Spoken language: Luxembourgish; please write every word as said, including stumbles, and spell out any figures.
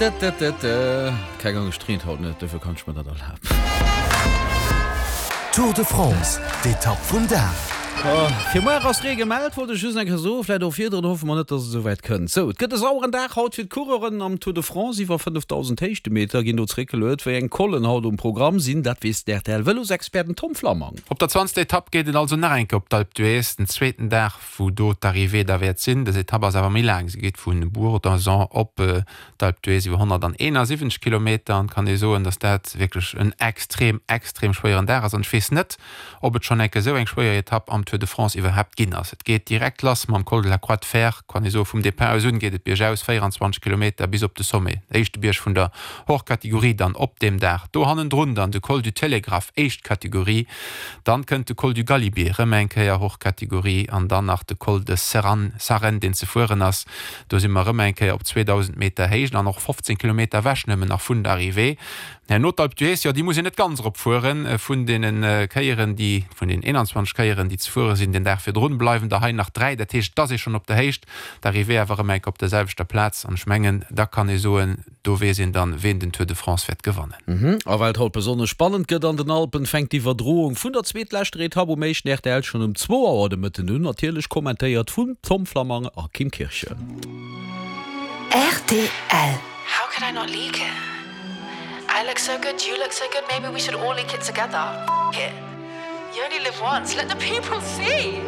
Keng Angscht, et reent haut net, dofir kann ech mer dat erlaben. Tour de France, d'Etapp vum Dag. Fir muer ass Ree gemellt, wollt ech just eng Kéier soen, vläit och virdrun, hoffe mer net, dass et esou wäit kënnt. Sou, et gëtt e saueren Dag haut fir d'Coureuren am Tour de France. Iwwer fënnefdausend Héichtemeter ginn do zeréckgeluet. Wéi eng Collen haut um Programm sinn, dat weess de R T L-Vëlosexpert, den Tom Flammang. Op der zwanzegster Etapp geet et also nach eng Kéier op d'Alpe d'Huez, den zweeten Dag, wou do d'Arrivée da wäert sinn. Dës Etapp ass awer méi laang, se geet vu Bourg-d'Oisans op d'Alpe d'Huez iwwer honnertaeenasiwwenzeg Kilometer an kann ee soen, dass dat wierklech en extrem, extrem schwéieren Dag ass an ech weess net, ob et schonn eng Kéier esou eng schwéier Etapp am Tour de France iwwerhaapt ginn ass. Et geet direkt lass mam Col de la Croix de Fer, kann ee soen, vum Depart aus un geet et biergaus, véierundzwanzeg Kilometer bis op de Sommet, éischte Bierg vun der Hors Catégorie dann op deem Dag. Do hannendrun dann de Col du Télégraphe, éischt Kategorie, dann kënnt de Col du Galibier, rëm eng Kéier Hors Catégorie an dann nach de Col de Serran, Sarenne, deen ze fueren ass. Do si mer rëm eng Kéier op zweedausend Meter Héicht an och fofzéng Kilometer ewech nëmmen nach vun der Arrivée. Herno d'Alpe d'Huez, jo, déi muss een net ganz erop fueren. Vun deene Kéieren, déi, vun den eenanzwanzeg Kéieren, déi ze fuere sinn den Dag virdrun, bleiwen der hei nach dräi. Dat heescht, et ass ee schonn op der Héicht, d'Arrivée awer erëm eng Kéier op der selwechter Plaz. An ech mengen, da kann ee soen, do weess een dann, ween den Tour de France wäert gewannen. A well et haut besonnesch spannend gëtt an den Alpen, fänkt d'Iwwerdroung vun der zweetleschter Etapp um éischten R T L schonn um zwou Auer de Mëtten un, natierlech kommentéiert vum Tom Flammang a Kim Kirchen. R T L. How could I not leak it? I look so good, you look so good, maybe we should all leak it together. F it. You only live once, let the people see.